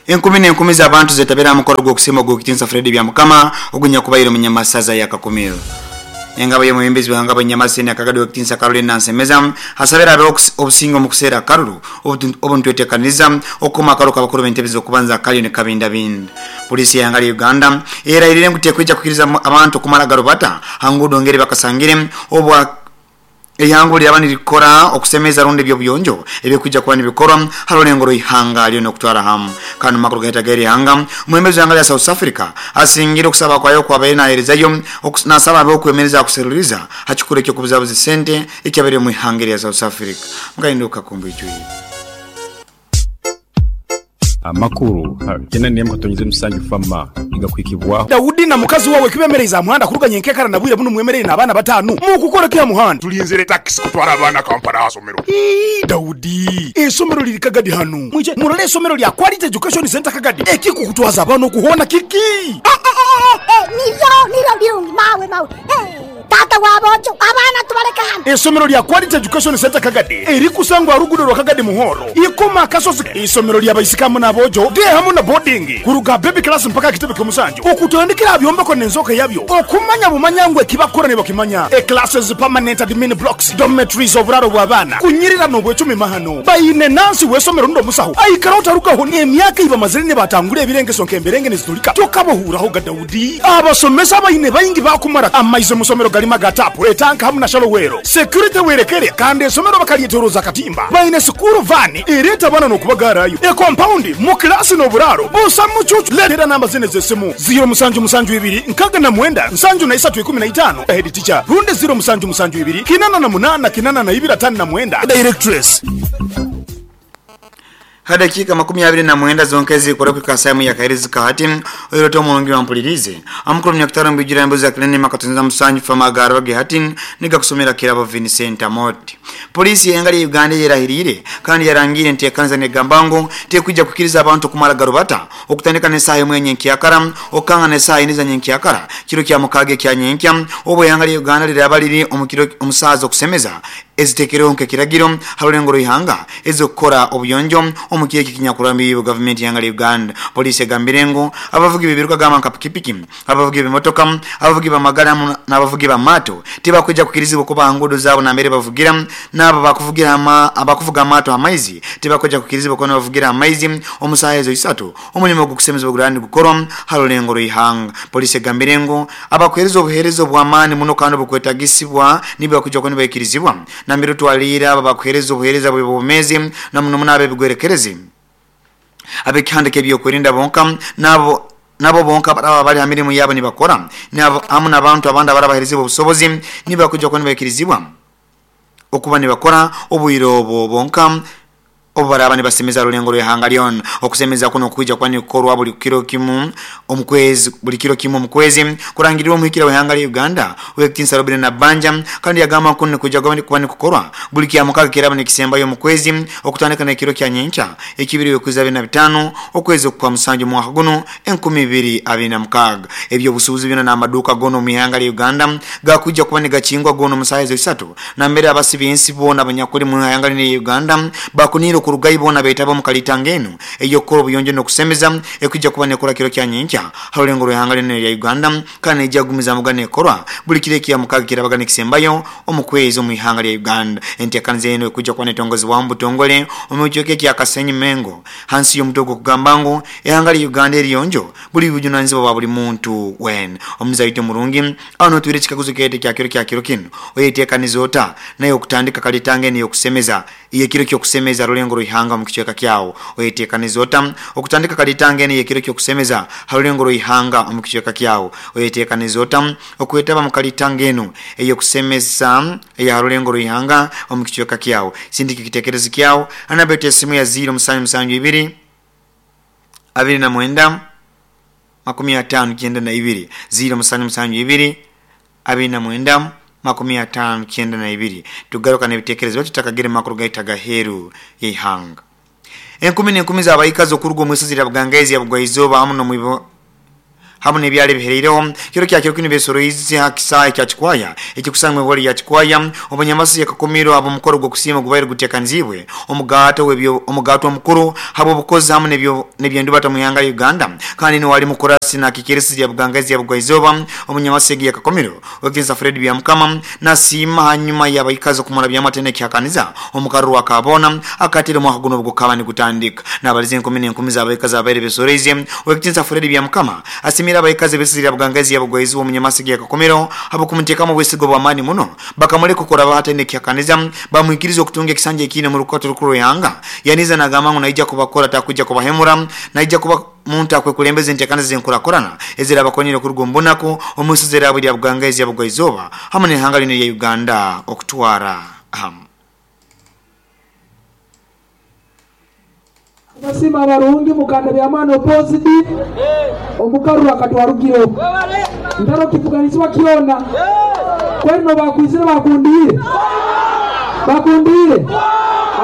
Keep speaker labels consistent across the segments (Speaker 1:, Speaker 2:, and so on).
Speaker 1: Enkumi n'enkumi z'abantu zetabire aha mukoro gw'okusiima ogw'ekitinisa Fred Byamukama ogunyakubaire omu Nyamasaza ya Kakumiro. Engabo y'omwebembezi w'ihanga bw'Enyamasa Senior Kagadi ow'ekitinisa Caroline Nansemeza asabire habeho obusinge omu kuseera akaruru obu nitwetekaniriza okukoma akaruru k'abakuru b'entebe z'okubanza kariyo nikabindabinda. Poliisi y'ihanga lya Uganda erahirire ngu tekwija kwikiriza abantu kumara garubata ha nguudo ngeri bakasangire obu Eihanga obu liraaba nirikora okusemeza rundi eby'obuyonjo ebirikwija kuba nibikorwa ha rulengo rw'eihanga lyona okutwara hamu. Kandi omu makuru gaitu ag'eri ihanga, omwebembezi w'eihanga lya South Africa asingire okusaba kwayo oku abaire naheerezayo nasaba habeho okwemereza aha kuseruriza ha kikuru eky'okubuzabuza esente ekyabaire omu ihanga erya South Africa. Mukahinduka kumbwijwire.
Speaker 2: Amakuru kenda n'emu katonyeze musanju fama nigakuhikibwaho.
Speaker 3: Daudi na mukazi wawe kibemereize aha muhanda kuruga nyenkekara na bwire bunu mwemereire n'abaana batanu. Mukukora ki aha muhanda?
Speaker 4: Tulinzire takisi kutwara abaana Kampala aha somero.
Speaker 3: Ii, Daudi, eisomero liri Kagadi hanu. Mwije murole eisomero lya Quality Education Centre Kagadi. Ekikukutwaza abaana oku hoona kiki?
Speaker 5: Eh, eh, eh, eh, niryo, niryo birungi, mawe, mawe. Eh. Taata wa boojo, abaana tubaleke hanu.
Speaker 3: Eisomero lya Quality Education Centre Kagadi erikusangwa aha ruguudo rwa Kagadi Muhoro, Ikoma Akasozi. Eisomero lya baisiki hamu n'aboojo, day hamu na boarding, kuruga aha baby class mpaka aha kitebe ky'omusanju, okutandikira aha byombeko n'enzooka yabyo, okumanya bumanya ngu ekibakukora nibakimanya. E Classes, permanent admin blocks, dormitories, oburaaro bw'abaana, kunyirira n'obwecumi mahano. Baine nansi w'eisomero rundi omusaho aikaraho tarugaho n'emyaka ei bamazire nibatangura ebirengeso nk'emberenge nizitulika tokabahuuraho ga Daudi. Abasomesa abaine baingi baakumara amaizi omu somero garimu aga taapu, etanka hamu na shallow well. Security werekere kandi esomero bakaryetoroza akatimba. Baine sikuuru vaani ereeta abaana n'okubagaarayo. Ekompaundi, mu kilaasi n'oburaaro busa mucuucu. Leetera namba zinu ez'esimu, ziiro musanju musanju ibiri nkaaga na mwenda nsanju na isatu ikumi na itaano, Head teacher, rundi ziiro musanju musanju ibiri kinana na munaana kinana na ibiri ataano na mwenda, Directress.
Speaker 1: Ha dakiika makumi abiri na mwenda zonka ezirikora kuhika saaha emwe y'akaheerezi ka hati, oire ota omurungi wampuririize? Amakuru Munyakitara omu bwijwire aha Jacqueline Makatonyeza Musanju Fama agaaraba ge hati nigakusomera Kirabo Vincent Amooti. Poliisi y'eihanga rya Uganda eyerahiriire kandi yarangiire enteekaniza negamba ngu tekwija kwikiriza abantu kumara garubata okutandika n'esaaha emwe ya nyenkyakara okukanga n'esaaha ina eza nyenkyakara kiro kya mukaaga ekya nyenkya obu eihanga rya Uganda riraaba riri omu kiro omu saaha z'okusemeza ezitekereho nk'ekiragiro ha rulengo rw'ihanga ez'okukora obuyonjo omu kiro eki ekinyakurambirwe gavumenti y'ihanga lya Uganda. Poliisi egambire ngu abavugi b'ebiruka gamba nka pikipiki, abavugi b'ebimotoka, abavugi b'amagari hamu n'abavugi b'amaato tibakwija kwikirizibwa kuba ha nguudo zaabo nambere bavugira n'abo abakuvuga amaato ha maizi tibakwija kwikirizibwa kuba nibavugira ha maizi omu saaha ezo isatu omulimo gw'okusemeza obu guraaba nigukorwa ha rulengo rw'ihanga. Poliisi egambire ngu abakuheereza obuheereza obw'amaani muno kandi obukwetagisibwa nibwo bakwija kuba nibaikirizibwa nambere otwaliire abo abakuheereza obuheereza bw'obwomeezi na muno muno ab'ebigwerekerezi, ab'ekihanda ky'ebyokwerinda bonka n'abo nabo bonka abaraba bali ha mirimo yabo nibakora hamu n'abantu abandi abarabaheerezibwa obusobozi nibwo bakwija kuba nibaikirizibwa okuba nibakora obwire obwo bonka. Obu baraaba nibasemeza ha rulengo rw'ihanga lyona. Okusemeza kunu kwija kuba nikukorwa buli kiro kimu omu kwezi buli kiro kimu omu kwezi kurangirirwe omuhikira w'ihanga lya Uganda Ow'ekitinisa Robinah Nabbanja kandi yagamba ngu kunu nikwija kuba nikukorwa buli Kyamukaaga ekiraaba nikisembayo omu kwezi okutandika n'ekiro kya nyenkya ekibiri w'ekwezi abiri na bitaano okwezi okwa musanju omwaka gunu 2026. Eby'obusuubuzi byona n'amaduuka goona omu ihanga lya Uganda gakwija kuba nigakingwa goona omu saaha ezo isatu Nambere abasi b'ensi boona abanyakuli mu ihanga linu erya Uganda bakuniire okurugayo boona beetabe omu kalitanga enu ey'okukora obuyonjo n'okusemeza ekwija kuba nekorwa kiro kya nyenkya ha rulengo rw'ihanga linu erya Uganda kandi neija kugumizamuga nekorwa buli kiro ekya mukaaga ekirabaga nikisembayo omu kwezi omu ihanga lya Uganda. Enteekaniza enu ekwija kuba netongozibwaho omu butongole omu kicweka ekya Kasenyi Mengo hansi y'omutwe ogw'okugamba ngu Ihanga lya Uganda eriyonjo buli bujunanizibwa bwa buli muntu weena. Omuzaire waitu omurungi Aho notwire ekikaguzo kyaitu ekya kiro kya kiro kinu, oyetekanize ota naye okutandika kalitanga enu ey'okusemeza ey'ekiro ky'okusemeza rulengo rw'ihanga omu kicweka kyawe? Oyetekanize ota okutandika kalitanga enu ey'ekiro ky'okusemeza ha rulengo rw'ihanga omu kicweka kyawe? Oyetekanize ota okwetaba mu kalitanga enu ey'okusemeza eya ha rulengo rw'ihanga omu kicweka kyawe? Sindika ekitekerezo kyawe ha namba yaitu y'esimu ya ziiro musanju musanju ibiri abiri na mwenda 59, ziiro musanju musanju ibiri, abiri na mwenda, 59. Tugaruka n'ebitekerezo baitu tutakagire mu makuru gaitu ag'aheeru y'eihanga. Enkumi n'enkumi z'abaikazi okuruga omu isozi lya Bugangaizi ya Bugwaizooba hamu n'omu Hamu n'ebyalo ebihereireho kiro kya kiro kinu besoroize ha kisaayi kya Kikwaya ekikusangwa ehori ya Kikwaya obunyamasi yakakumiro abo mukoro gw'okusiima gubaire guteekanizibwe omugato w'ebyo omugato omukuru habw'obukozi hamu n'ebyendubata mu ihanga lya Uganda kandi niwali mukurasi na kikirisi ya Bugangazi ya Bugwaizoba omunyamasi yakakomiro wekinsa Fred Byamukama nasiima hanyuma y'abaikazi okumara byamatene kyakaniza omukaruru akabona akatire mwaka guno gukaba ni gutandika n'abalize enkumi n'enkumi z'abaikazi abaire besoroize wekinsa Fred Byamukama asimira abaikazi besizira Bugangazi ya Bugwaizoba omunyamasi yakakomiro habo kumuteekamu obwesigo bw'amaani muno bakamuleka okora bahatene kyakaniza bamwikiriza okutunga ekisanja ekine mu rukato rukuru yanga yaniza nagamba ngu naija kubakora takuja kubahemura naija kuba muntu akwekulembeza enteekaniza zenkurakurana ezira abakonyere okuruga omu bunaku omusizi era buli Bugangazi ya Bugwaizoba hamwe n'ihanga lino lya Uganda okutwara hamu.
Speaker 6: Basima abarungi mukanda bya mwana opposite omukaruru akatwarugiro ntaro kifuganiswa kiona kweno bakwizira bakundire bakundire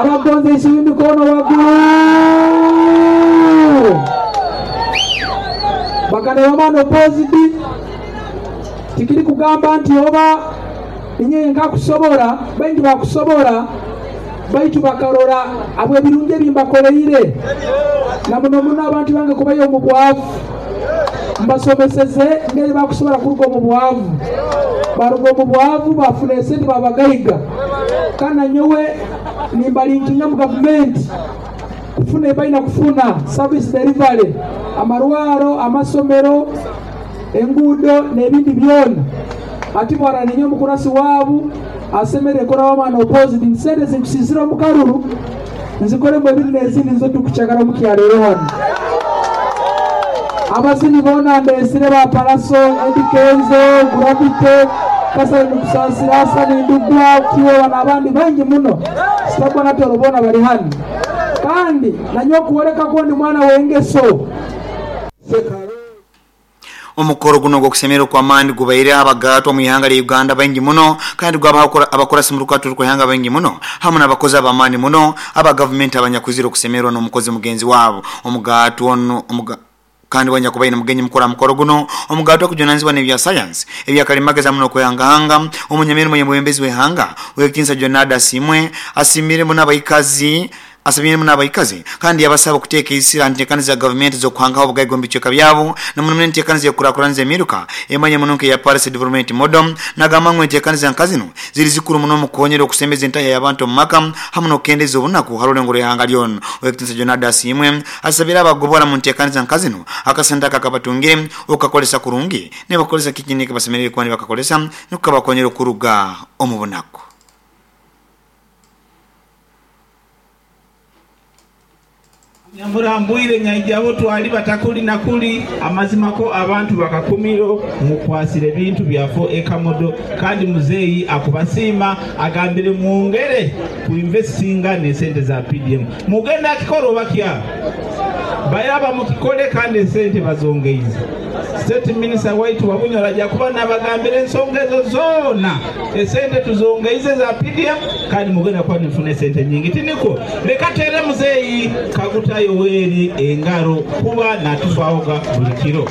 Speaker 6: abagonze isubi mikono wagu bakanda bya mwana opposite tikiri kugamba nti oba inye nkakusobora baingi bakusobora baitu bakarora abo ebirungi ebimbakoleire na muno muno abantu bange kubayo omu bwavu mbasomeseze ngeri bakusobora kuruga omu bwavu baruga omu bwavu bafuna esente babagaiga kana nyowe nimbalinkinga mu gavumenti kufuna ebalina kufuna service delivery amarwaro amasomero enguudo n'ebindi byona ati bwara ninyo omukurasi waabu asemere kora wamana opposite nsente zinkusizira omukaruru nzikoremu ebindi n'ezindi nizo tukukyagala omukyalo ero hano abazini boona ndesire ba Palaso Eddy Kenzo Gravity Kasai Nukusasira Hassan Ndugwa Kiwewa n'abandi bangi muno sitabona toro boona bali hano kandi nanyo okuworeka ko ndi mwana w'engeso.
Speaker 1: Omukoro guno gw'okusemera okw'amaani gubaire abagaatwa mu ihanga lya Uganda baingi muno kandi gwaba abakorasi mu rukato rw'ihanga baingi muno hamwe n'abakozi ab'amaani muno aba gavumenti abanyakuzira okusemerwa n'omukozi mugenzi waabo omugaatwa ono kandi wanyakubaine mugenyi mukuru mukoro guno omugaatwa okujunanizibwa n'ebya science ebyakalimagezi muno okwehangahanga omunyamirimo y'omwebembezi w'ihanga wekinsa Jonada Simwe asimire muno abaikazi asabire muno abaikazi kandi yabasaba okuteeka isira nteekaniza gavumenti z'okuhangaho obugaiga omu bicweka byabo na muno enteekaniza y'okukurakuraniza emiruka emanye muno nk'eya Paris Development Model nagamba ngu enteekaniza nka zino ziri zikuru muno mu kukonyera okusembeza entahya y'abantu omu maka hamwe n'okukendeza obunaku ha rulengo rw'ihanga lyona. Owekitinisa Jonada Simwe asabire abagobora mu nteekaniza nka zino akasente aka kabatungire okakolesa kurungi nibakolesa kiki basemerere kuba nibakakolesa nukukabakonyera okuruga omu bunaku.
Speaker 7: Nyamurambwire nyaijabo twali batakuli nakuli amazima ko abantu bakakumiro mukwasire ebintu byafo ekamodo kandi muzeeyi akubasiima agambire mwongere kuinvestinga nesente za PDM mugenda akikora obakya bayaba mukikole kandi esente bazongeize. State Minister waitu Wabunyola ajja kuba nabagambira ensonga ezo zoona esente tuzongeize za PDM kandi mugenda kuba nifuna esente nyingi tiniko leka tere muzeeyi Kaguta Yoweri engaro kuba natufaawoga buli kiro.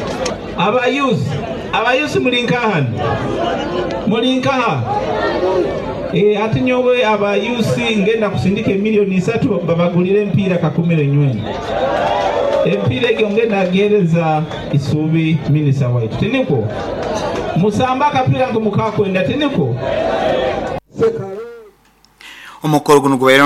Speaker 7: Abayuzi mulinkahano mulinkaha ati nyowe abayusi ngenda kusindika emiliyoni 3 babagulire empiira kakumiro nyweni empiira egyo ngenda agereza Isubi minisita waitu tiniko musamba akapiira ngu mukakwenda tiniko.
Speaker 1: Omukoro guno gubaire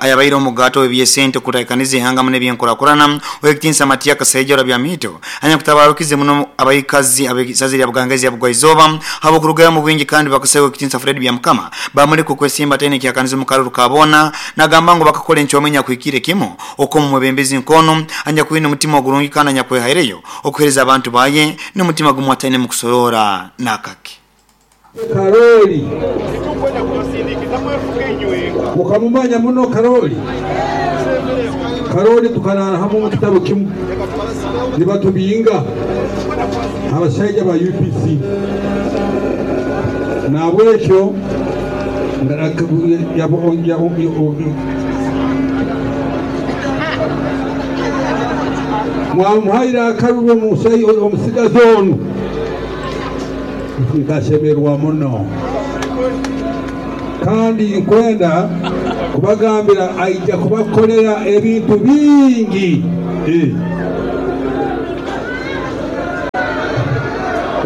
Speaker 1: ayabaire omugato w'ebyesente okutaikaniza ihanga muno ebyenkurakurana owekitinsa Matia Kasaija Bya Mito anyakutabarukize muno abaikazi abekisazi lya Bugangazi ya Bugwaizoba habw'okurugayo mu bwingi kandi bakasaba owekitinsa Fred Byamukama bamuleka okwesimba tene kyakaniza omukaruru kabona nagamba ngu bakakora enkyomenya kuhikire kimu okomu mwebembezi nkono anyakwine omutima ogurungi kandi anyakwehaireyo okuhereza abantu baye n'omutima gumwe ataine mu kusorora n'akake.
Speaker 8: Karoli mukamumanya muno Karoli Karoli tukarara hamwe mu kitabo kimwe nibatubinga abashaija ba UPC nabwekyo Mwamuhaire akaruru omusigazi onu, nkasemerwa muno. Kandi nkwenda kubagambira aija kubakolera ebintu bingi.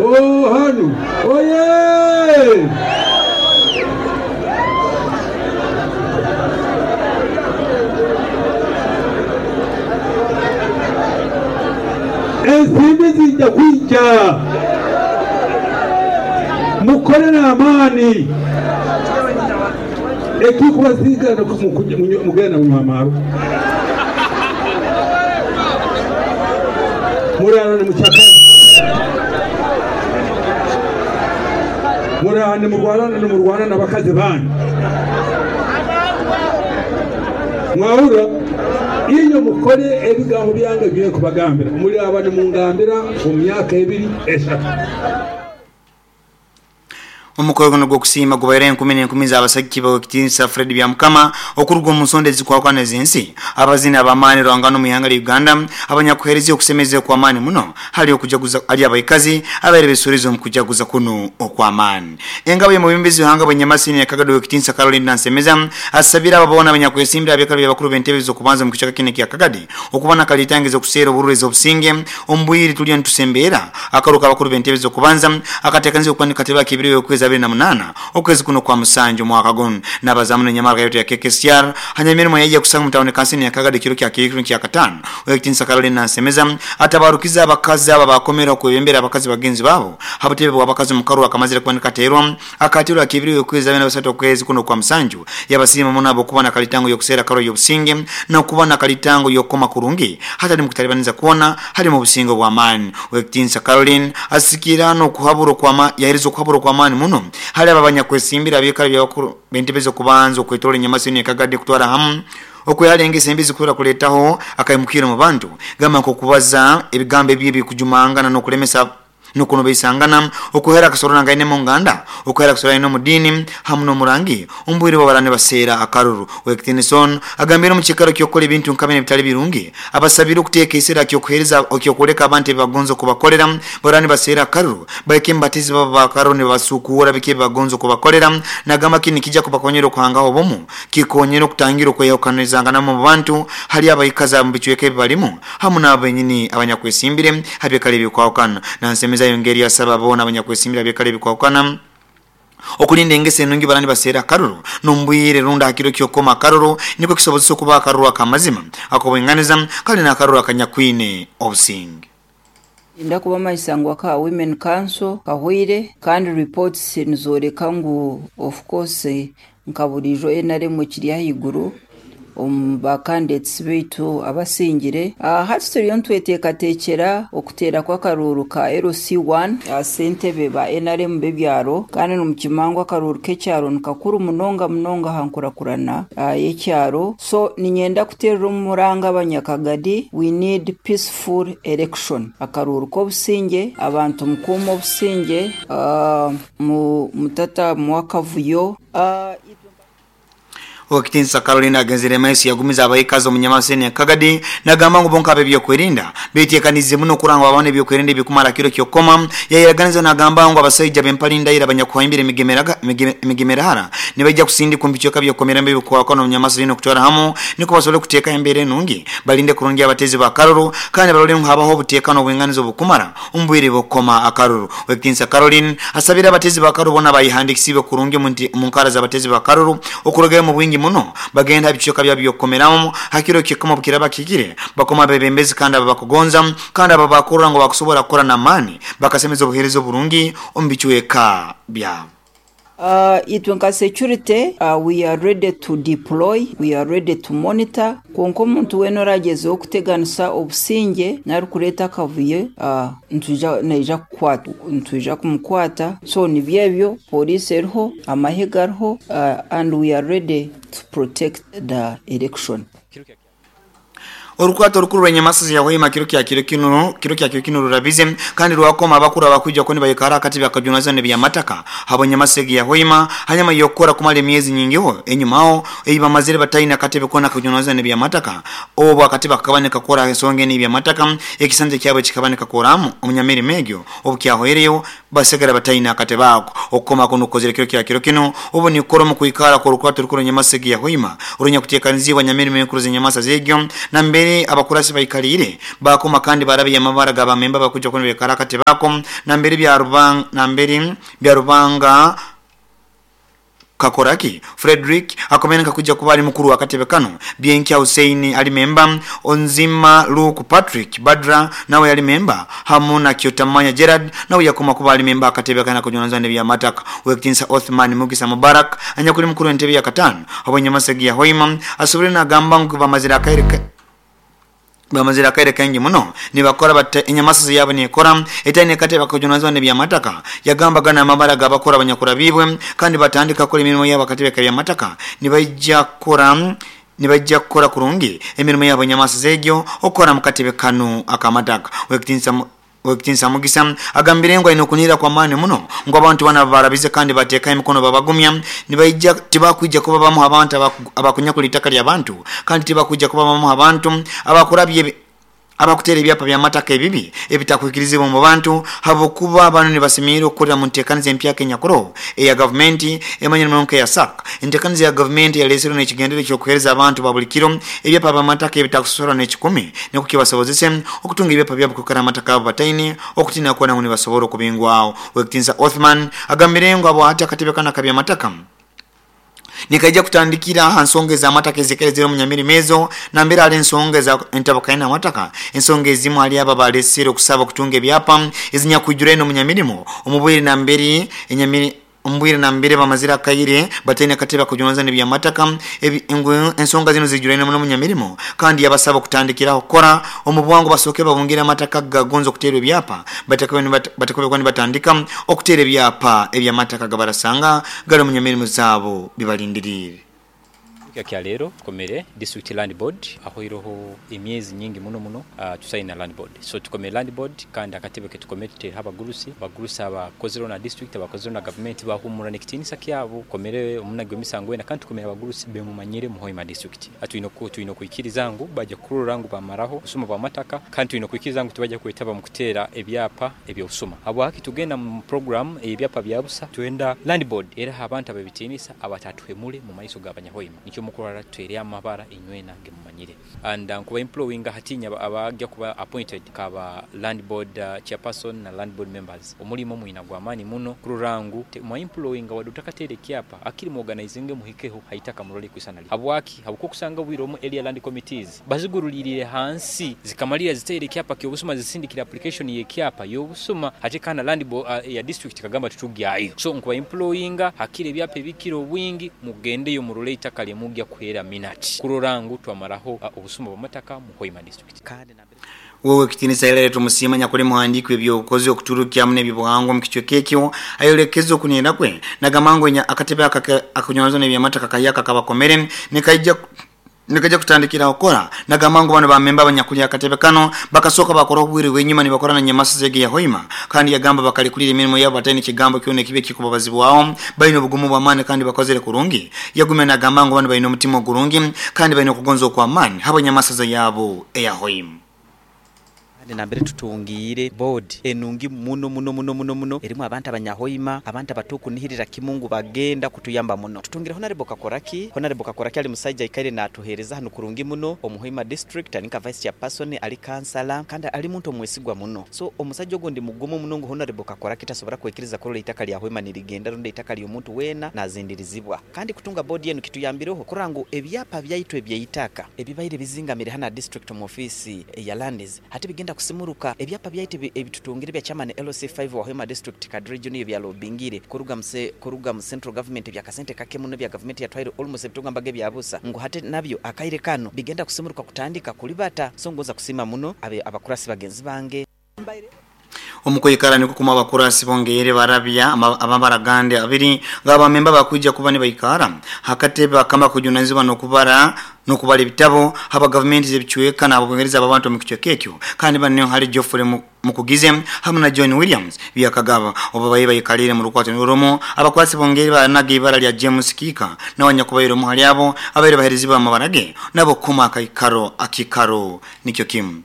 Speaker 8: Oh, hanu oye! Ensimbi zijja kwija, mukore n'amaani. Ekikubasiga mugenda munywa amaarwa, murara nimucakara, murara nimurwana n'abakazi banyu. Mwahurra? Iyo mukore ebigambo byange byenkubagambira, muri aba nimungambira omu myaka 2 3.
Speaker 1: Omukoro guno gw'okusiima gubaire enkumi n'enkumi z'abasajja b'ekitiinisa Fred Byamukama okuruga omu nsonda ezikwakwana ez'ensi, abazini ab'amaani rwangano mu ihanga lya Uganda abanyakuheereza okusemeza okw'amaani muno hali okujaguza ali abaikazi abaire besuurize omu kujaguza kuno okw'amaani. Engabo y'omubembezi w'ihanga bw'enyamasini ya Kagadi w'ekitiinisa Caroline Nansemeza asabire abo boona abanyakwesimbira abeekaro by'abakuru b'entebe z'okubanza omu kicweka kinu ekya Kagadi okuba nakalitangiza okuseera obururu ez'obusinge omu bwire tuliyo nitusembeera akaruka abakuru b'entebe z'okubanza akateekaniza okuba nikateba kibiri okwezi 28 okwezi kuno kwa musanju mwaka guno. N'abazamu n'enyamara yote ya KKCR hanyamirimo yaija kusanga mutawuni kansini ya Kagadi kiro kya kiro kya katano. W'ekitiinisa Caroline Nansemeza atabarukiza abakazi aba bakomera okwebembera abakazi bagenzi babo habutebe bw'abakazi mu karu akamazire kuba nikateerwa akatirwa kibiri okwezi 23 okwezi kuno kwa musanju. Yabasiima muno abo kuba nakalitango y'okuseera karo y'obusinge n'okuba nakalitango y'okukoma kurungi hatali mu kutalibaniza kwona hali mu businge bw'amaani. W'ekitiinisa Caroline asikira n'okuhabura okwama yahereza okuhabura okw'amaani muno hali aba abanyakwesimbira abeekaro by'abakuru b'entebe z'okubanza okwetoora enyamasini ya Kagadi kutwara hamu okwehara engeso embi zikura kuleetaho akaimukiro mu bantu gamba nk'okubaza ebigambo ebibi ebikujumangana n'okulemesa n'okunobeisangana, okuhera akasorora ngaine mu nganda, okuhera akasorora mu dini hamu n'omurangi ombwire bwabarane baseera akaruru. W'ekitiinisa agambire omu kikaro ky'okukola ebintu nka bino ebitali birungi abasabire okuteeka ekiseera ky'okuheereza ky'okwoleka abantu ebibagonza okubakolera barani baseera akaruru baike embatizi baba bakaruru nibabasukuura biki ebibagonza okubakolera. Nagamba kini kijja kubakonyera okuhangaho obumu kikonyera okutangira okwehukanizanganamu mu bantu hali abaikazi mu bicweka ebibalimu hamu n'abo benyini abanyakwesimbire habyekale ebikwahukana. Nansemeza yongeri asaba boona abanyakwesimbire abyekale ebikwahukana okulinda engeso enungi barani baseera akaruru n'ombwire runda hakiro ky'okukoma akaruru nikwo kisobozesa okuba akaruru akamazima ak'obwinganiza kandi n'akaruru akanyakwine obusinge.
Speaker 9: Inda kuba maisangwa ka Women Council kahwire kandi reports nizoreka ngu of course nka burijo NRM kiri ahiguru omu candidates baitu abasingire. Hati turiyo ntweteekateekera okuteera kw'akaruuru ka LC1 sentebe ba NRM b'ebyaro kandi nomukimangwa akaruuru k'ekyaro nikakuru munonga munonga aha nkurakurana y'ekyaro. So ninyenda kuteerera omuranga abanyakagadi, we need peaceful election, akaruuru k'obusinge, abantu mukuuma obusinge, mutata mwakavuyo.
Speaker 1: Owekitinsa Caroline agenzere maiso yagumiza abaikazi omunyamaseni ya Kagadi nagamba ngu bonka ab'ebyokwerinda beteekanize muno kuranga babone ebyokwerinda ebikumara kiro kyokoma. Yayiraganiza nagamba ngu abasaija b'empalinda ira abanyakuhaimbira emigemerahara nibaija kusindika omu bicweka by'okukomeramu ebikwakwana omunyamaseni okutwara hamu niko basobole kuteeka embeera enungi balinde kurungi abatezi ba karuru kandi barole ngu habaho obuteekano obwinganiza obukumara omu bwire bw'okukoma akaruru. Owekitinsa Caroline asabire abatezi ba karuru bona bayihandikisiibwe kurungi omu nkara z'abatezi ba karuru okurugayo mu bwingi muno bagenda bicweka byabo by'okukomeramu hakiro kyekoma bukiraba kikire bakoma abebembezi kandi ababakugonza kandi ababakurra ngu bakusobora kukora n'amaani bakasemeza obuheereza oburungi omu bicweka byabo.
Speaker 9: Itwe nka security, we are ready to deploy, we are ready to monitor. Konka omuntu weena oragezeho okuteganisa obusinge nari kureeta akavuyo, naija kukwata, nitwija kumukwata. So nibyo ebyo, poliisi eriho, amahe gariho, and we are ready to protect the election.
Speaker 1: Orukwato orukuru rw'enyamasa ya Hoima kiro kya kiro kino kiro kya kiro kino rurabize kandi rwakoma abakuru abakwija ko nibayikara akati bakajunaza n'ebyamataka habo nyamasa ya Hoima hanyuma yokora kumala emyezi nyingiho enyumaho eyi bamazire bataina akatebe kona kajunaza n'ebyamataka obo akatebe kakaboneka kora ensonga n'ebyamataka ekisanja kyabo kikaboneka koramu omunyamirimo egyo obu kyahoireyo basigara bataina akatebe ako okukoma kuno kukozere kiro kya kiro kino obu nikora mu kwikara ko rukwato rukuru nyamasa ya Hoima urunya kutekanizibwa nyamirimo enkuru z'enyamasa zegyo na mbere abakurasi bayikalire bakoma kandi barabiye amabara g'abamemba bakuja kuno bekara akatebe ako na mbere bya rubanga na mbere bya rubanga Kakoraki Frederick akomeneka kuja kuba ali mukuru wakatebe kano Bienkia Hussein ali memba Onzima Luke Patrick Badra nawe ali memba Hamuna Kyotamanya Gerard nawe yakoma kuba ali memba akatebe kana kujonanza n'ebya mataka Wekitinsa Othman Mugisa Mubarak anyakuli mukuru entebe ya katano abonyamasegi ya Hoima asobole nagamba ngu bamazira akaire bamazira kaire kengi muno nibakora bate enyamasa yabo nikora etaine kate bakujunazwa n'ebyamataka yagamba gana amabara gabakora abanyakura bibwe kandi batandika kora emirimo yabo akatebe kabyamataka nibajja kukora kurungi emirimo yabo enyamasa zegyo okora mukatebe kanu akamataka Wekitinsa Mugisa agambire ngo ino kunira kwa mani muno ngo abantu bana barabize kandi bateka emikono babagumya nibaija tibakwija kuba bamu abantu abakunyakula itaka lya bantu kandi tibakwija kuba bamu abantu abakurabye abakutera ebyapa bya mataka ebibi ebitakwikirizibwa mu bantu habokuba abantu nibasimira okukorera mu nteekaniza empya Kenya kuro eya gavumenti emanyire muno ya SAC enteekaniza ya gavumenti yaleeserwe n'ekigendere ky'okuheereza abantu ba buli kiro ebyapa bya mataka ebitakusosorwa n'ekikumi nikwo kibasobozese okutunga ebyapa byabo kukara amataka abo bataine okutina kuona ngu nibasobora okubingwaho. Wekitinsa Othman agambire ngu abo ati akatebe kana kabya mataka nikaija kutandikira aha nsonga ez'amataka ezikerezere omunyamirimo ezo nambere ali ensonga eza entabakaine amataka ensonga ezimu ali aba balesere okusaba okutunga ebyapa ezinyakwijura eno omunyamirimo omubwire nambere enyamiri ombwire nambere bamazira akaire bataine akatebe kujonza n'ebyamataka ensonga zino zijuraine muno omunyamirimo kandi yabasaba okutandikiraho kukora omubwangu basooke babungire amataka gagonza okuteerwa ebyapa batakube nibatandika okuteera ebyapa ebyamataka gabarasanga gali omunyamirimo zaabo bibalindiriire.
Speaker 10: Kya leero tukomere district land board ahoireho emyezi nyingi muno muno tusaina land board so tukomere land board kandi akatebe ketukomere tuteereho abagurusi abakozereho na district abakozereho na government bahumura n'ekitinisa kyabo komere omunagi w'emisango wena kandi tukomere abagurusi bemumanyire mu Hoima district twine okwikiriza ngu bajja kurora ngu bamaraho obusuma bw'amataka kandi twine okwikiriza ngu tibajja kwetaba mu kuteera ebyapa eby'obusuma habwaki tugenda mu program ebyapa bya busa twenda land board era abantu ab'ebitiinisa abatatuhemure mu maiso g'abanyahoima nikyo mukurara tutere amabara inywena gemumanyire and nkuba employinga hatinya abajja kuba appointed kaba land board chairperson na land board members omulimo mwina gwa maani muno kururangu mwa employinga wadde otakateera ekyapa akiri mu organizing muhikeho haitaka murole kwisanali habwaki habuko kusanga bwire omu area land committees bazigurulirire hansi zikamalira ziteere ekyapa ky'obusuma zisindikira application y'ekyapa y'obusuma ate kana land board ya district kagamba tutugyayo so nkuba employinga hakiri ebyapa ebikiro obwingi mugendeyo murole itaka lyemugya kuhera minati kurorangu twamaraho obusuma bw'amataka mu Hoima district.
Speaker 1: Wewe kitinisa ilere tumusima nyakuli muhandiki w'ebyobukozi okuturukyamu n'ebyobuhangwa mu kichweka ekyo ayolekeza okunira kwe nagamango akatebe akunyonza n'ebyamataka kayaka kabakomere nikaija kutandikira okora nagamango bano bamemba abanyakulya akatebe kano bakasoka bakora obwire bw'enyuma nibakora na nyamasa zege ya Hoima kandi yagamba bakalikulira emirimo yabo bataine kigambo kyona ekibe kikubabazibwaho balina obugumu bw'amaani kandi bakozere kurungi yagumya nagamba ngu bano balina omutima ogurungi kandi balina okugonza okw'amaani habo nyamasa yabo eya Hoima.
Speaker 11: Nambere tutungire board enungi muno muno muno muno muno erimu abantu abanyahoima abantu abatukunihirira kimungu bagenda kutuyamba muno tutungire Honorable Kakoraki ali musaija ikaire natuhereza hano kurungi muno omuhoima district alinka vice chairperson ali kansala kandi ali muntu omwesigwa muno so omusajja ogo ndi mugumu muno ngu Honorable Kakoraki tasobora kwekiriza kurola itaka lya Hoima nirigenda rundi itaka ly'omuntu wena nazindirizibwa kandi kutunga board yenu kituyambireho kurangu ebyapa byaitu ebyeitaka ebibaire bizingamire hana district mu office ya lands hati bigenda kusimuruka ebyapa byaitu ebitutungire bya chairman LC5 wa Hoima district kadri junior bya lobingire kuruga mu central government bya kasente kake muno bya government yatwaire almost ebitugamba ge byabusa ngo hate nabyo akaire kano bigenda kusimuruka kutandika kulibata songoza kusima muno abakurasi bagenzi bange
Speaker 1: Omukoyikara niko kuma abakurasi bongere barabya ababaragande abiri ngaba memba bakuja kuba nibayikara hakatebe bakama kujunanizibwa nokubara N'okubara ebitabo haba gavumenti z'ebicweka n'ababongereza abantu omu kicweka ekyo. Kandi bano hali Geoffrey Mukugize hamu na John Williams Byakagaba obu bayi bayikalire mu rukwato n'orumu. Abakwasi bongeri banaga ibara lya James Kika n'abanyakubaire omu hali abo abaire baheerezibwa amabara ge nabo kuma akaikaro akikaro nikyo kimu.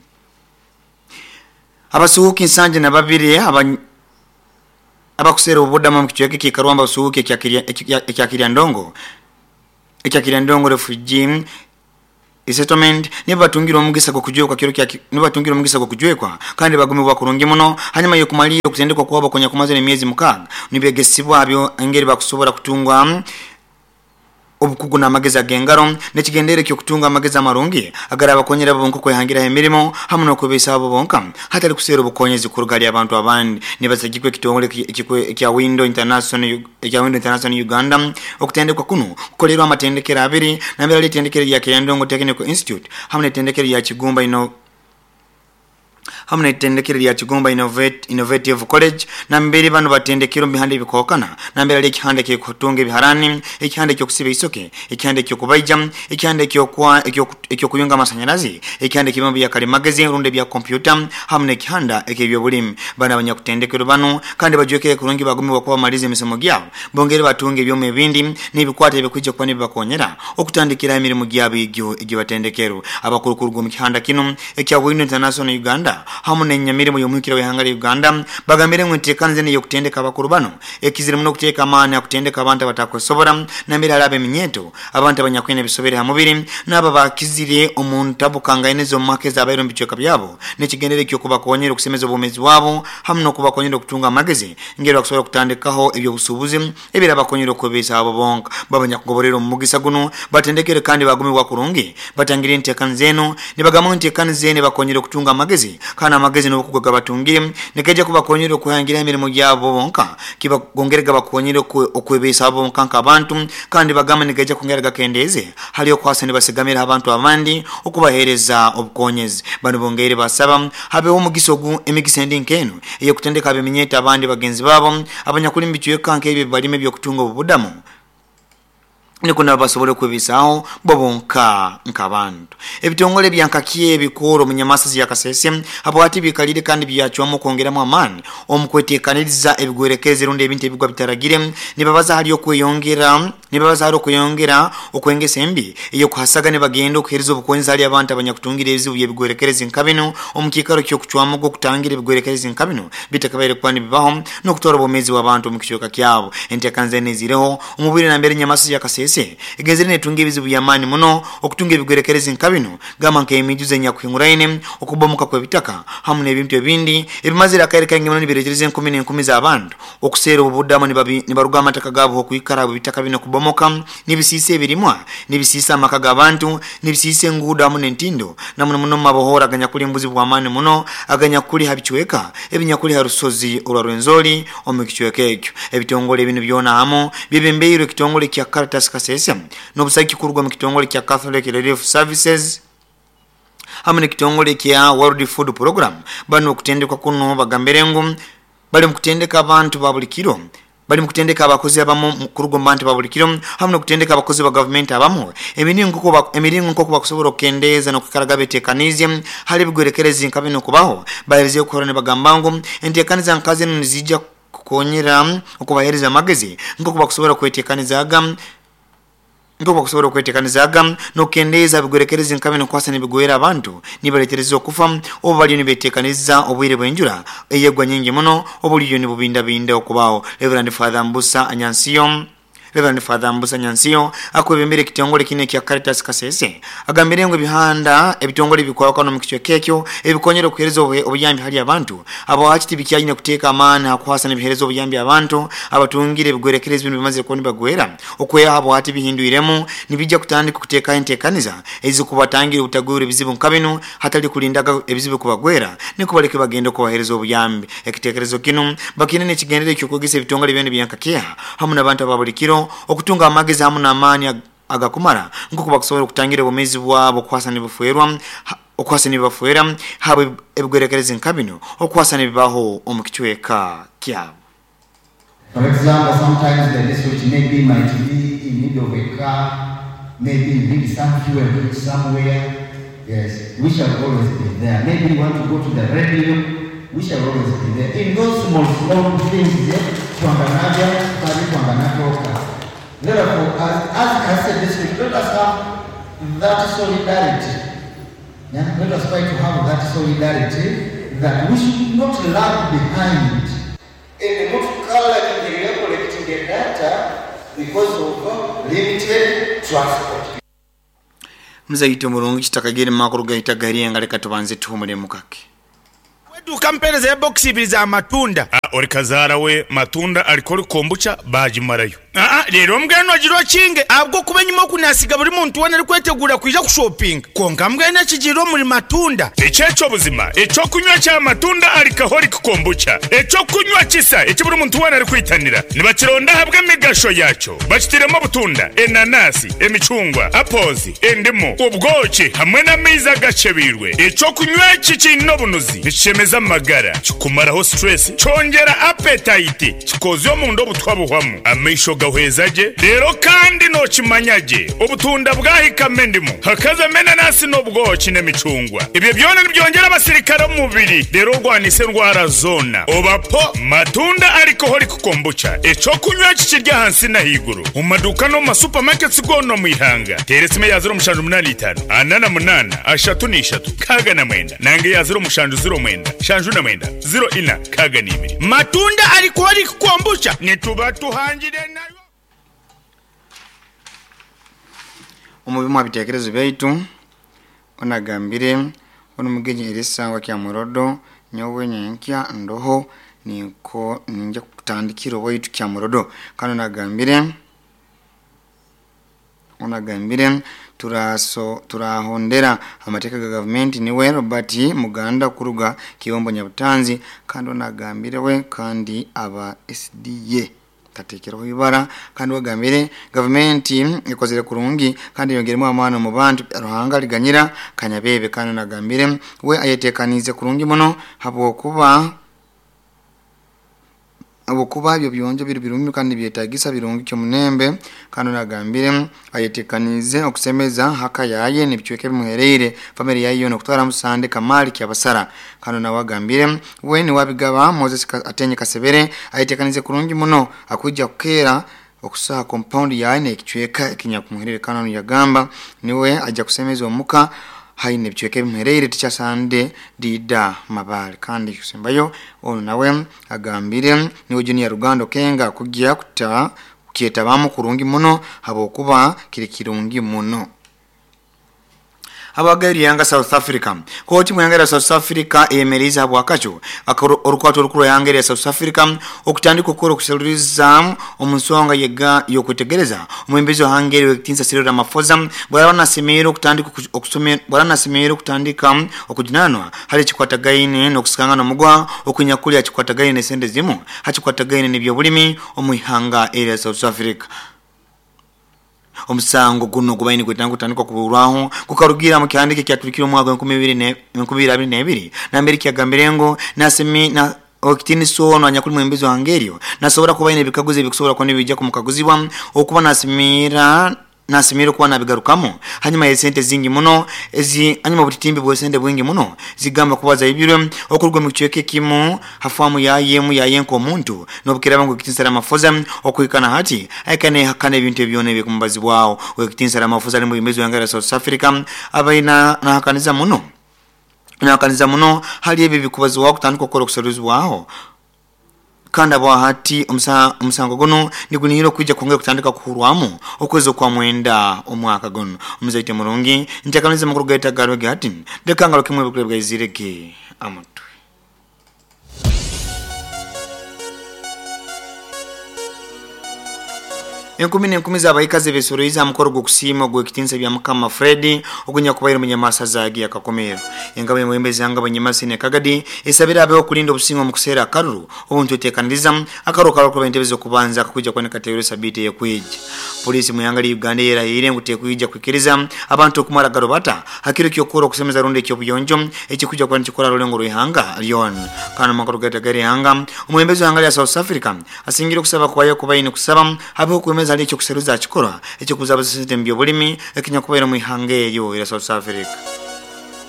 Speaker 1: Abasuhuuki 72 abakuseera obubudamo omu kicweka ekiikarwamu abasuhuuki ekya Kiryandongo ekya Kiryandongo Refugee Resettlement nibo batungire omugisa gw'okujwekwa kiro kya nibo batungire omugisa gw'okujwekwa kandi bagumibwa kurungi muno hanyuma y'okumalirra okutendekwa kwabo okunyakumazire emyezi 6 nibegesibwa byo engeri bakusobora kutungwa obukugu n'amagezi ag'engaro n'ekigendere ky'okutunga amagezi amarungi agarabakonyera bo bonka kwehangiraho emirimo hamu n'okwebeesaho bo bonka hatali kuseera obukonyezi kuruga hali abantu abandi. Nibasagikwa ekitongole ekya Window International ekya Window International Uganda. Okutendekwa kuno kukolerwa amatendekero abiri, nambere ali etendekero lya Kiryandongo Technical Institute hamu n'etendekero lya Kigumba ino hamu n'etendekero lya Kigumba Innovative College. Nambere bano batendekero omu bihanda ebikookana, nambere ali ekihanda eky'okutunga ebiharani, ekihanda eky'okusiba isoke, ekihanda eky'okubaija, ekihanda eky'okuyunga amasanyarazi, ekihanda eky'ebyoma bya kalimagezi rundi ebya kompyuta hamu n'ekihanda eky'ebyobulimi. Bano abanyakutendekero bano kandi bajwekere kurungi bagumibwa kuba bamaliza emisomo gyabo bongere batunga ebyoma ebindi n'ebikwata ebikwija kuba nibibakonyera okutandikira emirimu gyabo egyo egyebatendekero. Abakuru kuruga omu kihanda kino ekya Window International Uganda hamu n'enyamirimo y'omuhikira w'ihanga lya Uganda bagambire ngu enteekaniza enu ey'okutendeka abakuru bano ekizire muno okuteeka amaani akutendeka abantu abatakwesobora, nambere hali ab'eminyeeto, abantu abanyakwine ebisobere ha mubiri n'abo abakizire omu ntabukangaine z'omu maka ezabaire omu bicweka byabo, n'ekigendere eky'okubakonyera okusemeza obwomeezi bwabo hamu n'okubakonyera okutunga amagezi ngeri bakusobora kutandikaho ebyobusuubuzi ebirabakonyera okwebeesaho bo bonka. Babanyakugoborera omu mugisa guno batendekere kandi bagumibwa kurungi batangire enteekaniza enu nibagamba ngu enteekaniza enu ebakonyera okutunga amagezi kandi amagezi n'obukugu gabatungire nikaija kubakonyera okuhangira emirimu gyabo bonka kibagongere gabakonyere okwebeesaho bonka nk'abantu. Kandi bagamba nigaija kwongera gakendeeze hali okwasa nibasigamira abantu abandi okubaheereza obukonyezi. Bano bongeire basaba habeho omugisa ogu emigisa endi nk'enu ey'okutendeka ab'eminyeeto abandi bagenzi baabo abanyakuli mu bicweka nk'ebyo ebibalima eby'okutunga obubudamu niko nabo basobole okwebeesaho bo bonka nk'abantu. Ebitongole bya Nkakiye ebikuru omu Nyamasazi ya Kasese habwati bikalire kandi byacwamu okwongeramu amaani omu kweteekaniriza ebigwerekerezi rundi ebintu ebigwa bitaragire. Nibabaza hali okweyongera nibabaza hali okweyongera okw'engeso embi ey'okuhasaga nibagenda okuheereza obukonyezi hali abantu abanyakutungire ebizibu by'ebigwerekerezi nka binu omu kiikaro ky'okucwamu gw'okutangira ebigwerekerezi nka binu bitakabaire kuba nibibaho n'okutwara obwomeezi bw'abantu omu kicweka kyabo. Enteekaniza enu eziireho omu bwire nambere Nyamasazi ya Kasese egenzere netunga ebizibu by'amaani muno okutunga ebigwerekerezi nka binu, gamba nk'emiijuzo enyakuhinguraine, okubomoka kw'ebitaka hamu n'ebintu ebindi ebimazire akaire kaingi muno nibireetereza enkumi n'enkumi z'abantu okuseera obubudamu nibaruga amataka gaabo okwikara habw'ebitaka binu kubomoka, nibisiisa ebirimwa, nibisiisa amaka g'abantu, nibisiisa enguudo hamu n'entindo, na muno muno omu mabohoora aganyakuli omu buzibu bw'amaani muno aganyakuli ha bicweka ebinyakuli ha rusozi orwa Rwenzori omu kicweka ekyo. Ebitongole binu byona hamu byebembeirwe ekitongole kya Caritas Kasese n'obusagiki kuruga omu kitongole kya Catholic Relief Services hamu n'ekitongole kya World Food Program. Banu okutendekwa kuno bagambire ngu bali mu kutendeka abantu ba buli kiro bali mu kutendeka abakozi abamu kuruga omu bantu ba buli kiro hamu n'okutendeka abakozi ba gavumenti abamu emiringo nk'oku bakusobora okukendeeza n'okwikaraga beteekaniize hali ebigwerekerezi nka binu kubaho. Baheerizeyo okuhurra nibagamba ngu enteekaniza nka zinu niziija kukonyera okubaheereza amagezi nk'oku bakusobora kweteekanizaaga nk'oku bakusobora okweteekanizaaga n'okukendeeza ebigwerekerezi nka binu kuhasa nibigwera abantu nibaleetereza okufa obu baliyo nibeteekaniza obwire bw'enjura eyegwa nyingi muno obuliyo nibubindabinda okubaho. Reverend Father Mbusa Anyansiyo Reverend Father Mbusa Nyansiyo akwebembera ekitongole kinu ekya Caritas Kasese agambire ngu ebihanda ebitongole ebikwahukana omu kicweka ekyo ebikonyera okuheereza obuyambi hali abantu abo hati tibikyayine kuteeka amaani ha kuhasa nibiheereza obuyambi abantu abatungire ebigwerekerezi binu bimazire kuba nibagwera okwehaho abo hati bihindwiremu nibijja kutandika okuteekaho enteekaniza ezikubatangira obutagwerwa ebizibu nka binu hatali kulindaga ebizibu kubagwera niko baleke bagenda okubaheereza obuyambi. Ekiteekerezo kinu bakiine n'ekigendere eky'okwegesa ebitongole byona ebya Nkakeha hamu n'abantu aba buli kiro okutunga amagezi hamu n'amaani agakumara nk'oku bakusobora okutangira obwomeezi bwabo okuhasa nibuferwa okuhasa nibafwera habwe ebigwerekerezi nka binu okuhasa nibibaho omu kicweka kyabo.
Speaker 12: For example, sometimes the district maybe might be in need of a car. Maybe you need some fuel somewhere. Yes, we shall always be there. Maybe you want to go to the radio. We shall always be there. In those small, small things, twanganabya, kali twanganatoka. Therefore, as Kasese district, let us have that solidarity. Yeah? Let us try to have that solidarity that we should not lag behind. And not collecting the data because of limited transport.
Speaker 1: Mzaito mulungi chitakagire makuru gaita gari leka tubanze tuhumule mukake.
Speaker 13: Weduka mpereza ya box ibiri za matunda.
Speaker 4: Ori kazara we matunda alikori kombucha bajimarayo.
Speaker 13: Rero mbwenu agirwa kinge abwo kuba nyuma kunasiga buri muntu wana ari kwetegura kuja kushopping. Konka mbwenu akigirwa muri matunda.
Speaker 4: Echecho buzima, echo kunywa cha matunda alikahori kombucha. Echo kunywa kisa eki buri muntu wana ari kwitanira. Nibakironda habwe migasho yacho. Bakitiremo butunda, enanasi, emicungwa, apozi, endimu, ubwoki hamwe n'amaizi agacebirwe. Echo kunywa eki kiine obunuzi, nikishemeza amagara, kikumaraho stress, kyongera appetite, kikozya omunda obutwa buhwamu. Amaisho gahwezaje rero kandi nokimanyage obutunda bwahikame endimu hakazamo enanasi n'obwoki n'emicungwa. Ibyo byona nibyongera abasirikare omu mubiri rero orwanise endwara zona. Obapo matunda alcoholic kombucha ekyokunywa kikirya ahansi n'ahaiguru omu maduuka n'omu masupamaketi goona omu ihanga. Teera esimu eya 0785 48 33 69 nange eya 0709 79 04 62.
Speaker 13: Matunda alcoholic kombucha
Speaker 4: nituba tuhangire nayo.
Speaker 1: Omubimu abitekerezo byaitu onagambire ono mugenyi erisangwa kya murodo nyowe nyenkya ndoho niko ninja kutandikira waitu kya murodo. Kandi onagambire turahondera amateeka ga government niwe Robert Muganda kuruga Kibombo Nyabutanzi. Kandi onagambire we kandi aba SDA tatekeraho ibara. Kandi wagambire government ikozere kurungi kandi yongeremo amano mu bantu Ruhanga liganyira kanyabebe. Kandi nagambire we ayetekanize kurungi muno habwokuba byo byonjo biri birungi kandi byetagisa birungi cyo munembe. Kandi nagambire ayetekanize okusemeza haka yaye nibichweke bimuhereire family yayo no kutwara musande kamali kyabasara. Kandi nawagambire we ni wabigaba Moses atenye kasebere ayetekanize kurungi muno akujja kukera okusaha compound yaye nekichweka ekinyakumuherere. Kandi yagamba niwe ajja kusemeza omuka haine bichweke bimuhereire tichasande dida mabali. Kandi kusembayo ono nawe agambire niwe Junior Rugando Kenga kujya kuta kietabamo kurungi muno habokuba kiri kirungi muno. Abagari yanga South Africa. Koti mwangera South Africa emeriza habwakacho orukwato rukuru yangera South Africa okutandika okukora okuseluriza omusonga yega yokutegereza omwembezi hangeri wekitinsa Cyril Ramaphosa bwana semero kutandika okusomera bwana semero kutandika okujinanwa hali chikwatagaine nokusikanga nomugwa okunyakulya chikwatagaine sente zimu hachikwatagaine nibyobulimi omuihanga area South Africa. Omusango guno gubaini kwetanga kutandikwa kuburwaho kukarugira mu kihandike kyaturikira omwaka 2022 na Amerika yagambirengo nasemi na okitini sono anyakuli mwembezi wa Hangerio nasobora kuba ine bikaguze bikusobora kwa nibijja kumukaguzibwa okuba nasimira nasimira kuba nabigarukamo hanyuma yesente zingi muno ezi hanyuma butitimbi bwesente bwingi muno zigamba kubaza ibirwe okurwa mu kichweke kimu hafamu yayemu yayenko omuntu nobukira bangu kitinsara Ramaphosa okuikana hati aikane hakane ebintu ebyone byekumbazi bwao wekitinsara Ramaphosa ali mu bimezi wangara South Africa abaina nahakaniza muno hali ebi bikubazi wao kutandika okukora okusaruzi bwao. Kandi abo hati omusango gono nigunihira okwijja kwongera kutandika kuhurwamu okwezi okwa mwenda omwaka gono. Omuzaite murungi ntakaniza makuru gaita garwe hati ndekangalo kimwe bukule bwa amutwe. Enkumi n'enkumi z'abayikazi besoroiza mukoro gw'okusiima gw'ekitinsa bya Mukama Fred ogunya kubaire munyamasa zagi akakomero. Engabo emwembezi anga banyamasi ne Kagadi esabira abe okulinda obusingo mu kuseera akaruru obuntu etekaniriza akaruru kaloko entebe z'okubanza akakujja kwanika teero sabite yekwija. Polisi mu yanga Uganda yerahire ngu tekwijja kwikiriza abantu okumara garobata hakiro kyokora okusemeza runde ekyobuyonjo ekikujja kwa nikikora rulengo rw'ihanga Lyon. Kana makuru gata gari hanga omwembezi w'ihanga lya South Africa asingira okusaba kwayo kubaine kusaba habe okwemeza Gomez ali ekyokuseruza akikora ekyokuzabuza sente mu byobulimi ekinyakubaire mu ihanga eryo era South Africa.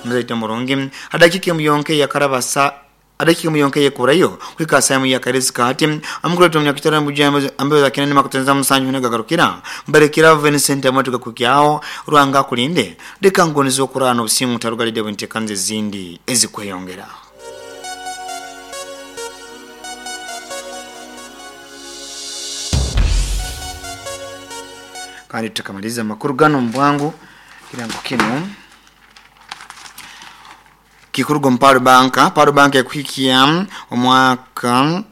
Speaker 1: Muzaite murungi adakika muyonke yakarabasa adakika muyonke yekurayo kwika samu ya karezi kati amukuleto mnyakitara mbujambo ambayo za kinene makutenza musanju nagagarukira mbarekira Vincent amatuka kukyao rwanga kulinde deka ngonizo kurano busimu tarugalide bwentekanze zindi ezikweyongera. Kandi tukamaliza makuru gano mbwangu kirango kino kikurugo mparu banka paru banka ekuhikia omwaka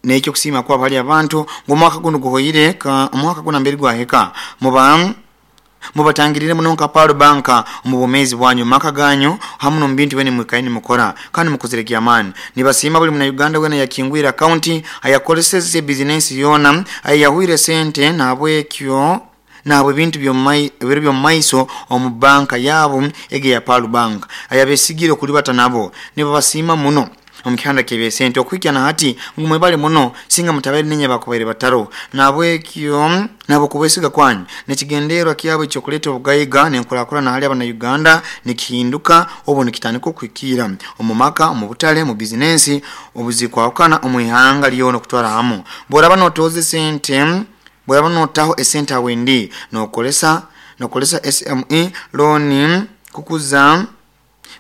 Speaker 1: nekyo kusima kwa bali abantu ngomwaka guno guhoyire ka omwaka guna mbere gwaheka muba mubatangirire munonka paru banka omubomezi bwanyu maka ganyu hamu no mbintu bene mwikaini mukora kandi mukuzirekia amani nibasima buli muna Uganda wena yakingwira county ayakoleseze business yona ayahuire sente nabwekyo nabwe bintu byo maiso omu banka yabo ege ya Palu Bank ayabesigire kulibata nabo nibasima muno omukihanda kebe sente okwikia na hati ngumwe bali muno singa mutabere nenye bakubaire bataro nabwekyo nabo kubesiga kwanyu nekigenderwa kyabo ekyokuleta obugayiga nenkulakula na hali abana Uganda nikihinduka obo nikitandika okwikira omumaka omubutale mu business obuzikwakana omuihanga lyono kutwara hamu boraba notoze sente bweraba notaho esente awendi nokolesa SME loan kukuza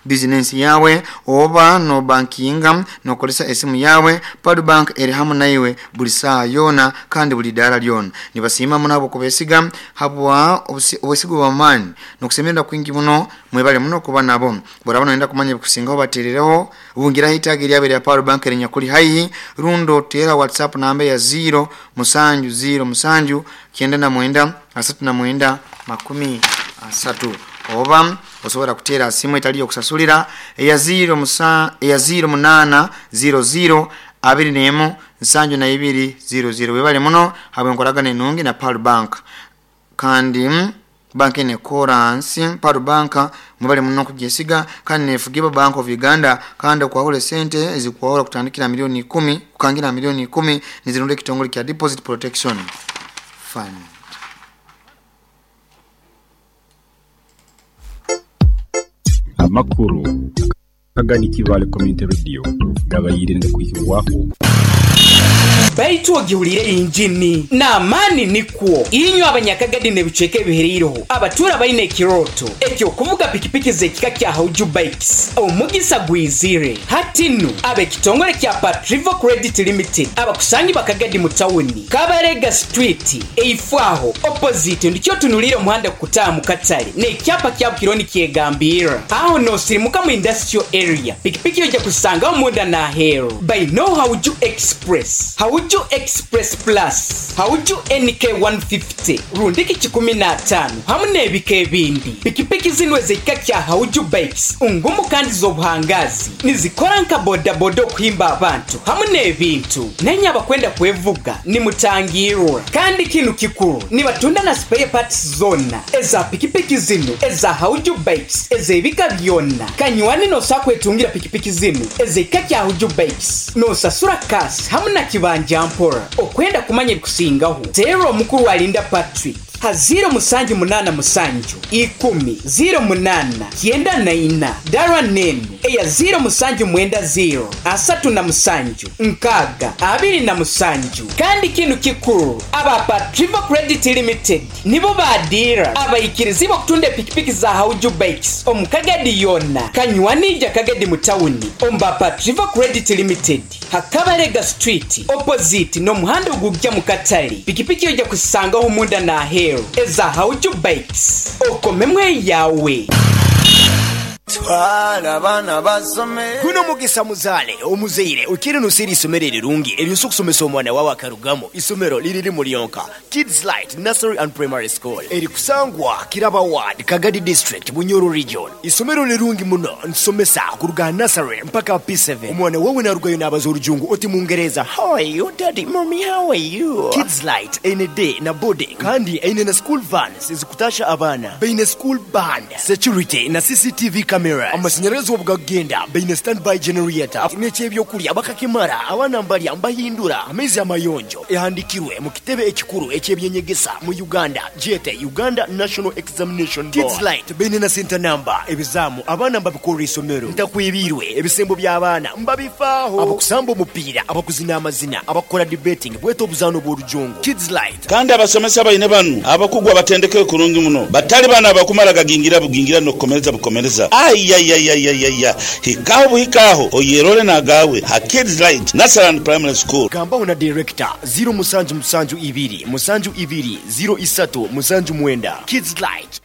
Speaker 1: business yawe oba no bankinga nokolesa esimu yawe Palu Bank eri hamu naiwe buli saa yona kandi buli dara lyona nibasima munabo kubesiga habwa obesigo bwa mani nokusemerera kwingi muno mwebale muno kuba nabo boraba noenda kumanya bikusingaho baterereho ubungira hitagi lyabe lya Palu Bank erinyakuli haihi rundo tera WhatsApp namba ya 0 musanju 0 musanju 99 39 30 oba osobola kutera simu etali okusasulira eya 0 musa eya 0 munana 00 21 72 00 webale muno habwe nkoragana enungi na Palu Bank kandi banki ne koransi Palu Bank mubale muno kugesiga kandi nefugiba Bank of Uganda kandi okwahula sente ezikwahula kutandikira milioni 10 kukangira milioni 10 nizirunde kitongole kya Deposit Protection Fund.
Speaker 2: Amakuru Kagadi Kivale Community Radio gabayire ndakwikirwaho
Speaker 14: baitu ogihulire injini n'amaani nikwo inywe abanyakagadi n'ebicweka ebihereireho abatura baine ekiroto ekyokuvuga pikipiki z'ekika kya Hauju Bikes omugisa gwizire hati nnu ab'ekitongole kya Patrivo Credit Limited abakusangi bakagadi mu tawuni Kabarega Street eifwaho opposite ndikyo tunulire omuhanda kukutaaha mu katale n'ekyapa kya Bukironi kyegambira aho nosirimuka mu industrial area pikipiki ojja kusangaho munda n'aheeru by no Hauju Express Hauju Express Plus, Hauju NK 150, rundiki 15, hamu n'ebika ebindi. Pikipiki zino ez'ekika kya Hauju Bikes, ungumu kandi z'obuhangazi, nizikora nka bodaboda okuhimba abantu, hamu n'ebintu. Nenye abakwenda kwevuga, nimutangirwa. Kandi kinu kikuru, nibatunda na spare parts zona, eza pikipiki zino, eza Hauju Bikes, ez'ebika byonna. Kanywani nosakwetungira pikipiki zino, ez'ekika kya Hauju Bikes, nosasura kasi, hamu na kibanja mpora okwenda kumanya ebikusingaho tera omukuru alinda Patrick ha 078 10 08 94 dara nenu eya 0790 37 6 27. Kandi kinu kikuru aba Patrivo Credit Limited nibo badira abaikirizi okutunda pikipiki za Hauju Bikes omukagadi yona kanywanija kagadi mu tawuni omba Patrivo Credit Limited Hakabarega Street opposite n'omuhanda ogujja mu katale pikipiki ojja kusangaho munda n'aheeru eza Hauju Bikes okomemwe yawe.
Speaker 15: Twala abaana basome guno mugisa muzale omuzeire okiri nusiri isomero erirungi eryosa okusomesa omwana wawe akarugamo isomero liriri mulyonka Kids Light Nursery and Primary School erikusangwa Kiraba Ward Kagadi District Bunyoro Region. Isomero lirungi muno nsomesa kuruga nursery mpaka P7. Omwana wawe narugayo n'abaza orujungu oti mungereza how are you daddy mommy how are you. Kids Light ene day na boarding kandi ene na school vans ezikutasha abaana baine school band security na CCTV cameras. Amasanyarazi obu gakugenda baine standby generator n'eky'ebyokulya bakakimara, abaana mbalya mbahindura amaizi amayonjo. Ehandikirwe mu kitebe ekikuru eky'ebyenyegesa mu Uganda gyete Uganda National Examination Board. Kids Light baine na center number, ebizaamu abaana mbabikorra isomero. Ntakwebiirwe, ebisembo by'abaana mbabifaaho. Abakusamba omupiira, abakuzina amazina, abakukora debating bwete obuzaano obw'orujungu. Kids Light.
Speaker 16: Kandi abasomesa baine banu abakugu abatendekeirwe kurungi muno, batali banu abakumara gagingira bugingira n'okukomereza bukomereza. Aiaiaiaiaia! Hikaho buhika aho oyerole n'agaawe ha Kids Light Nursery and Primary School.
Speaker 15: Gambaho na Director, ziro musanju musanju ibiri musanju ibiri ziro isatu musanju mwenda. Kids Light.